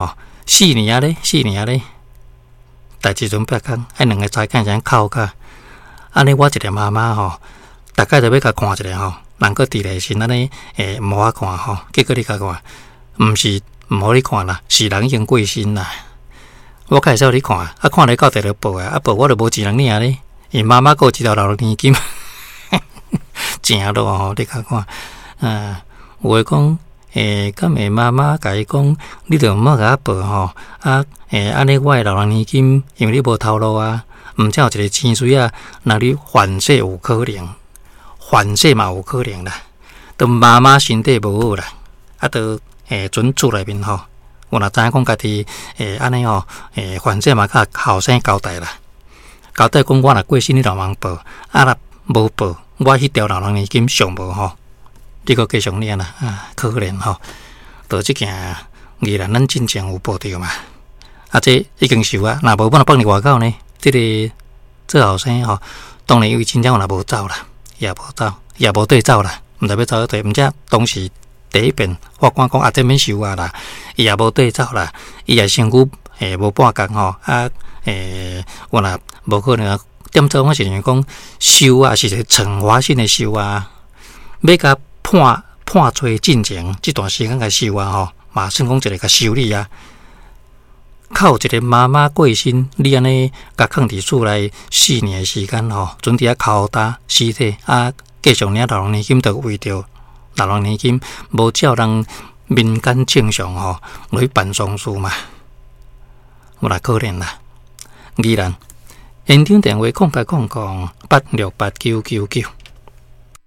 吼，四年仔咧，四年仔咧，代誌陣八工，彼兩个查囝才哭甲，按呢我一个媽媽吼，逐擺就欲共看一下吼，人閣佇咧時按呢會毋予我看吼，結果你共看，毋是毋予你看啦，是人已經過身啦。我較會使予你看，啊看咧到佇咧報啊，啊報我就無錢通領咧，𪜶媽媽閣有一條老年金，誠老吼，你共看，啊，有的講。欸，敢會媽媽共伊講，你著毋好共我報吼，啊，欸，按呢我的老人年金，因為你無頭路啊，毋才有一个錢水仔，若你反噬有可能，反噬嘛有可能啦。當媽媽身體無好啦，啊，都欸，陣厝內面吼，我若知影講家己欸，按呢吼，欸，反正嘛共後生交代啦，交代講我若過身，你著通報，啊若無報，我彼條老人年金上無吼。你閣繼續領啦，啊，可憐吼！就這件宜蘭咱進前有報著嘛？啊，這已經收啊，若無我若放佇外口呢？這个做後生吼，當然因為真正若無走啦，也無走，也無綴走啦，毋知欲走佗，毋知當時第一遍法官講啊，這免收啊啦，伊也無綴走啦，伊也身軀欸無半工吼，啊欸，我若無可能啊，點做我是認為講收啊是一个懲罰性的收啊，欲共判判罪進前這段時間共收啊吼，嘛算講一個共修理啊。靠一个媽媽過身，你按呢共囥佇厝內四年的時間吼，陣佇遐拷打屍體啊，繼續領老人年金，就為著老人年金，無照人民間正常吼來辦喪事嘛，有來可憐啦。宜蘭現場電話0800868999。